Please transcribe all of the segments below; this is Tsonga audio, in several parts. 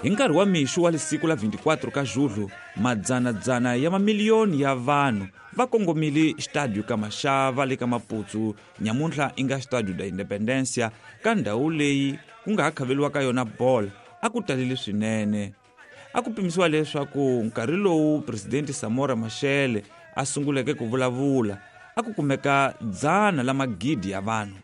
Hi nkarhi wa mixo wa lisiku la 24 ka Julho, madzanadzana ya mamiliyoni ya vanhu va kongomile Estádio Kamasava le ka Maputo, nyamuntlha i nga Estádio da Independência, ka ndhawu leyi ku nga ha khaveliwa ka yona bolo a ku talele swinene. A ku pimisiwa leswaku nkarhi lowu Presidente Samora Machel a sunguleke ku vulavula a ku kumeka dzana la magidi ya vanhu.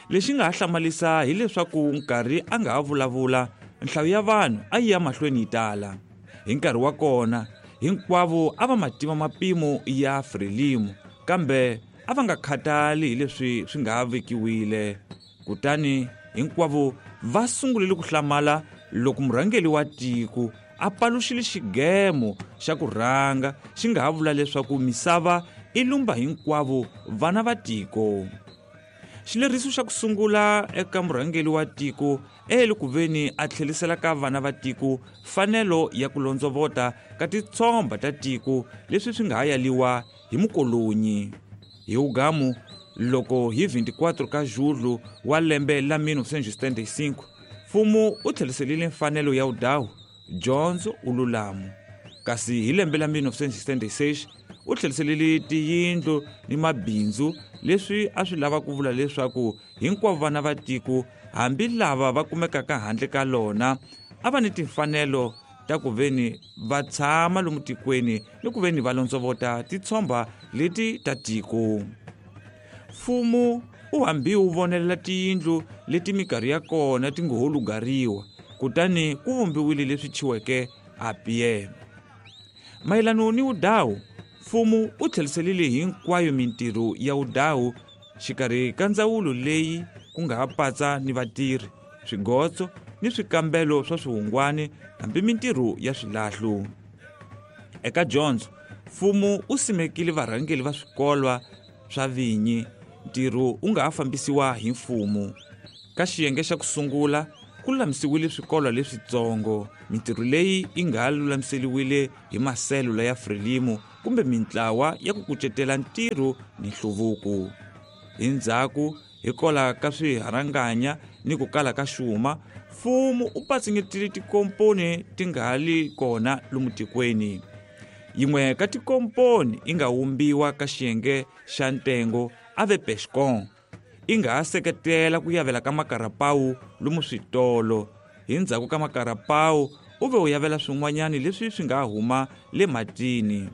Lexi nga ha hlamarisa hileswaku nkarhi a nga ha vulavula, nhlayo ya vanhu a yi ya mahlweni yi tala. Hi nkarhi wa kona, hinkwavo a va ma tiva mapimo ya Frelimo, kambe a va nga khatali hi leswi swi nga ha vekiwile. Kutani hinkwavo va sungulile ku hlamala loko murhangeri wa tiko a paluxile xigemo xa ku rhanga xi nga ha vula leswaku misava i lumba hinkwavo vana va tiko. Xileriso xa ku sungula eka murhangeri wa tiko e ku veni a tlherisela ka vana va tiko fanelo ya ku londzovota ka titshomba ta tiko leswi swi nga ha yaliwa hi mukolonyi. Hi ugamu loko hi 24 ka Julho wa lembe la 1975, mfumo u tlheriselile mfanelo ya udawu, dyondzo, ululamu. Kasi hi lembe la 1976 u tlheriselile tiyindlu ni mabindzu leswi a swi lava ku vula leswaku hinkwavo vana va tiko, hambi lava va kumekaka handle ka lona, a va ni timfanelo ta ku veni va tshama lomu tikweni ni ku veni va londzovota titshomba leti ta tiko. Mfumo u hambi wu vonelela tiyindlu leti minkarhi ya kona ti ngo ho lugariwa, kutani ku vumbiwile leswi thyiweke APM. Mayelano ni udawu, mfumo u tlheriselile hinkwayo mintirho ya udawu xikarhi ka ndzawulo leyi ku nga ha patsa ni vatirhi, swigotso ni swikambelo swa swihungwani hambi mintirho ya swilahlo. Eka dyondzo, mfumo u simekile varhangeri va swikolwa swa vinyi, ntirho wu nga ha fambisiwa hi mfumo. Ka xiyenge xa ku sungula ku lulamisiwile swikolo leswitsongo, mintirho leyi yi nga ha lulamiseriwile hi maselula ya Frelimo kumbe mintlawa ya ku kucetela ntirho ni nhluvuko. Hi ndzhaku, hikola ka swiharanganya ni ku kala ka xuma, mfumo u patsingetile tikomponi ti nga ha li kona lomu tikweni. Yin'we ka tikomponi yi nga wumbiwa ka xiyenge xa ntengo a ve Pescon, yi nga ha seketela ku yavela ka makarapawu lomu switolo. Hi ndzhaku ka makarapawu u ve u yavela swin'wanyani leswi swi nga huma le matini.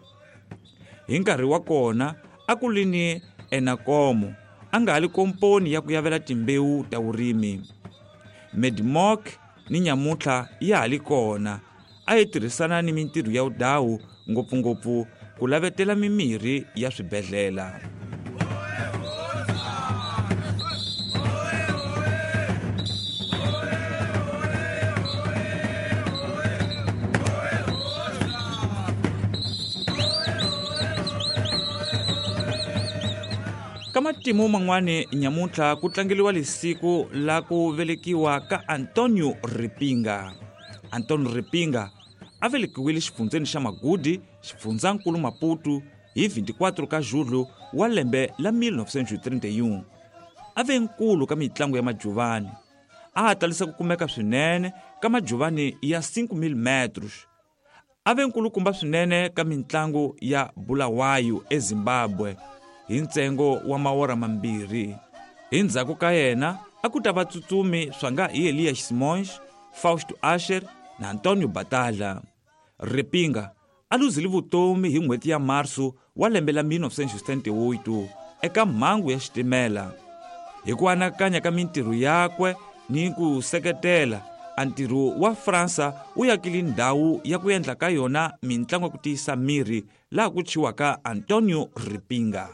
Hi nkarhi wa kona a ku li ni Enakomo, a nga ha li komponi ya ku yavela timbewu ta vurimi. Medimok ni nyamuntlha ya ha li kona, a yi tirhisana ni mintirho ya udawu, ngopfungopfu ku lavetela mimirhi ya swibedhlele. Ka matimu man'wani nyamuntlha ku tlangeliwa lisiku la ku velekiwa ka Antonio Ripinga. Antonio Ripinga a velekiwile xifundzeni xa Magudi, xifundzankulu Maputo, hi 24 ka Julho wa lembe la 1931. A ve nkulu ka mitlangu ya majuvani. A ha talisa ku kumeka swinene ka majuvani ya 5000 metros. A ve nkulukumba swinene ka mitlangu ya Bulawayo eZimbabwe hi ntsengo wa mawora mambirhi. Hi ndzhaku ka yena a ku ta vatsutsumi swa nga hi Elias Simões, Fausto Asher na Antonio Batalha. Ripinga a luzile vutomi hi n'hweti ya Marso wa lembe la 1978 eka mhangu ya xitimela. Hi ku anakanya ka mintirho yakwe ni ku seketela, a ntirho wa Fransa wu yakile ndhawu ya ku endla ka yona mintlangu ya ku tiyisa miri laha ku thyiwaka Antonio Ripinga.